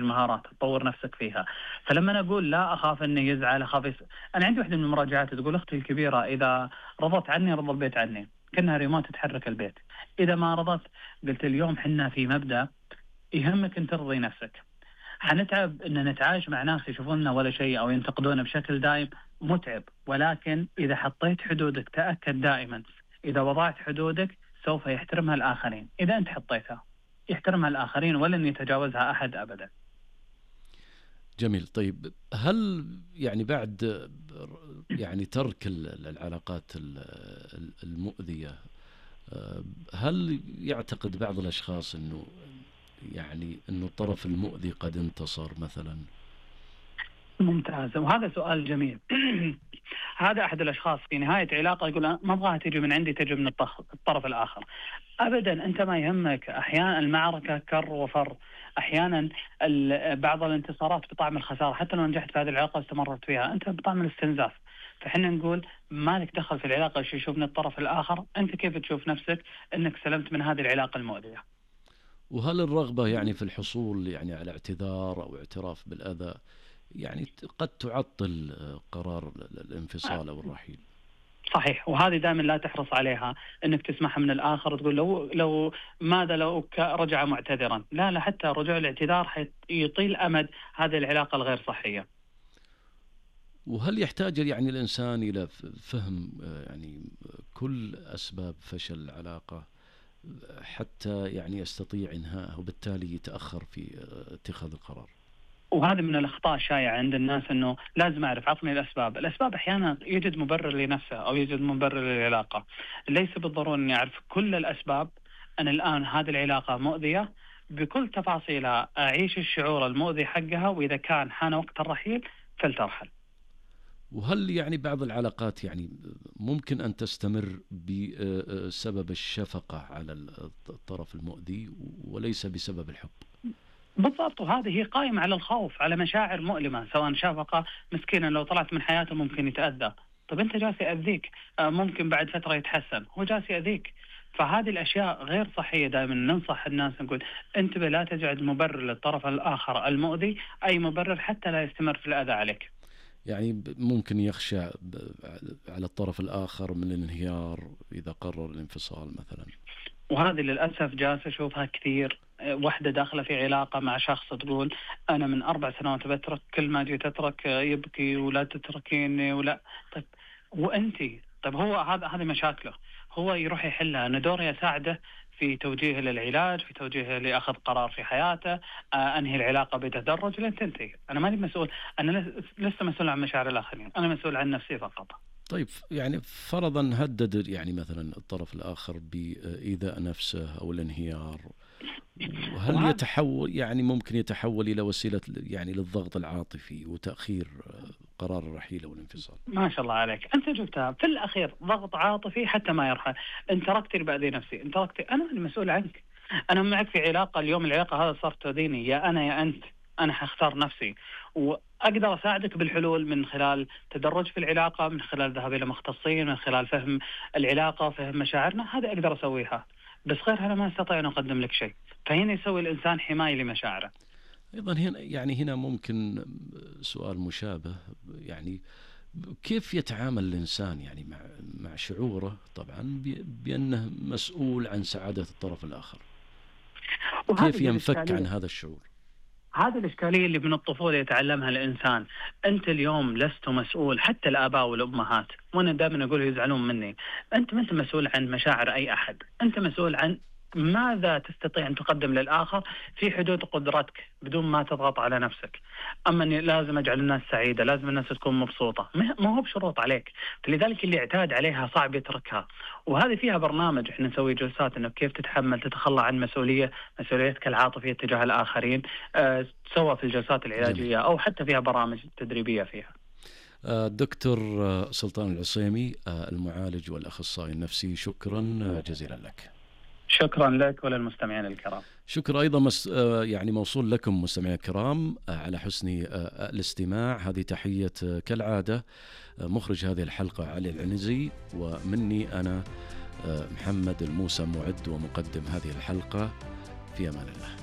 المهارات، تطور نفسك فيها. فلما أنا أقول لا أخاف إنه يزعل، أنا عندي واحدة من المراجعات تقول أختي الكبيرة إذا رضت عني رضى البيت عني، كأنها ريموت تتحرك البيت. إذا ما رضت، قلت اليوم حنا في مبدأ يهمك أن ترضي نفسك. حنتعب أن نتعايش مع ناس يشوفوننا ولا شيء أو ينتقدونا بشكل دائم، متعب. ولكن إذا حطيت حدودك تأكد دائما إذا وضعت حدودك سوف يحترمها الآخرين. إذا أنت حطيتها يحترمها الآخرين ولن يتجاوزها أحد أبدا. جميل. طيب هل يعني بعد يعني ترك العلاقات المؤذية، هل يعتقد بعض الأشخاص أنه يعني أنه الطرف المؤذي قد انتصر مثلا؟ ممتاز، وهذا سؤال جميل. هذا أحد الأشخاص في نهاية علاقة يقول ما أبغاها تجي من عندي، تجي من الطرف الآخر. أبدا، أنت ما يهمك. أحيانا المعركة كر وفر، أحيانا بعض الانتصارات بطعم الخسارة. حتى لو نجحت في هذه العلاقة واستمرت فيها أنت بطعم الاستنزاف. فحنا نقول ما لك دخل في العلاقة شو يشوف من الطرف الآخر، أنت كيف تشوف نفسك أنك سلمت من هذه العلاقة المؤذية. وهل الرغبة يعني في الحصول يعني على اعتذار أو اعتراف بالأذى يعني قد تعطل قرار الانفصال أو الرحيل؟ صحيح، وهذه دائما لا تحرص عليها انك تسمعها من الاخر وتقول لو ماذا لو رجع معتذرا. لا، حتى رجوع الاعتذار يطيل امد هذه العلاقه الغير صحيه. وهل يحتاج يعني الانسان الى فهم يعني كل اسباب فشل العلاقه حتى يعني يستطيع انهائها وبالتالي يتاخر في اتخاذ القرار؟ وهذا من الأخطاء الشائعة عند الناس، أنه لازم أعرف عطني الأسباب أحيانا يوجد مبرر لنفسه أو يوجد مبرر للعلاقة. ليس بالضرورة أن يعرف كل الأسباب. أنا الآن هذه العلاقة مؤذية بكل تفاصيلها، أعيش الشعور المؤذي حقها، وإذا كان حان وقت الرحيل فلترحل. وهل يعني بعض العلاقات يعني ممكن أن تستمر بسبب الشفقة على الطرف المؤذي وليس بسبب الحب؟ بالضبط، وهذه هي قائمة على الخوف، على مشاعر مؤلمة. سواء شفقة، مسكينا لو طلعت من حياته ممكن يتأذى. طب أنت جالس يأذيك، ممكن بعد فترة يتحسن، هو جالس يأذيك. فهذه الأشياء غير صحية. دائما ننصح الناس نقول انتبه، لا تجعل مبرر للطرف الآخر المؤذي أي مبرر حتى لا يستمر في الأذى عليك. يعني ممكن يخشى على الطرف الآخر من الانهيار إذا قرر الانفصال مثلا. وهذه للأسف جالس أشوفها كثير. واحدة داخلة في علاقة مع شخص تقول أنا من 4 سنوات بترك، كل ما جيت أترك يبكي ولا تتركيني ولا. طيب وأنتي؟ طيب هو هذه مشاكله، هو يروح يحلها. أنا دوري أساعده في توجيهه للعلاج، في توجيهه لأخذ قرار في حياته، أنهي العلاقة بتدرج لين تنتهي. أنا ماني مسؤول، أنا لست مسؤول عن مشاعر الآخرين، أنا مسؤول عن نفسي فقط. طيب يعني فرضا هدد يعني مثلا الطرف الآخر بإيذاء نفسه أو الانهيار، وهل يتحول يعني ممكن يتحول إلى وسيلة يعني للضغط العاطفي وتأخير قرار الرحيل أو الانفصال؟ ما شاء الله عليك، أنت جبتها في الأخير. ضغط عاطفي حتى ما يرحل. أنت تركتني بأذي نفسي، أنت تركتني، أنا المسؤول عنك. أنا معك في علاقة، اليوم العلاقة هذا صارت تؤذيني، يا أنا يا أنت. أنا حختار نفسي، وأقدر أساعدك بالحلول من خلال تدرج في العلاقة، من خلال ذهاب إلى مختصين، من خلال فهم العلاقة، فهم مشاعرنا. هذا أقدر أسويها، بس غير هذا ما استطيع أن أقدم لك شيء. فهنا يسوي الإنسان حماية لمشاعره. أيضا هنا ممكن سؤال مشابه، يعني كيف يتعامل الإنسان يعني مع شعوره طبعا بأنه مسؤول عن سعادة الطرف الآخر؟ كيف ينفك عن هذا الشعور؟ هذه الإشكالية اللي من الطفولة يتعلمها الإنسان. أنت اليوم لست مسؤول، حتى الآباء والأمهات، وأنا دائما أقول يزعلون مني، أنت ما أنت مسؤول عن مشاعر أي أحد. أنت مسؤول عن ماذا تستطيع أن تقدم للآخر في حدود قدرتك بدون ما تضغط على نفسك. أما أني لازم أجعل الناس سعيدة، لازم الناس تكون مبسوطة، ما هو بشروط عليك. فلذلك اللي اعتاد عليها صعب يتركها. وهذه فيها برنامج احنا نسوي جلسات انه كيف تتحمل تتخلى عن مسؤوليتك العاطفية تجاه الآخرين، سواء في الجلسات العلاجية أو حتى فيها برامج تدريبية فيها. دكتور سلطان العصيمي، المعالج والأخصائي النفسي، شكرا جزيلا لك. شكرا لك وللمستمعين الكرام. شكرا أيضا يعني موصول لكم مستمعين الكرام على حسن الاستماع. هذه تحية كالعادة مخرج هذه الحلقة علي العنزي، ومني أنا محمد الموسى، معد ومقدم هذه الحلقة. في أمان الله.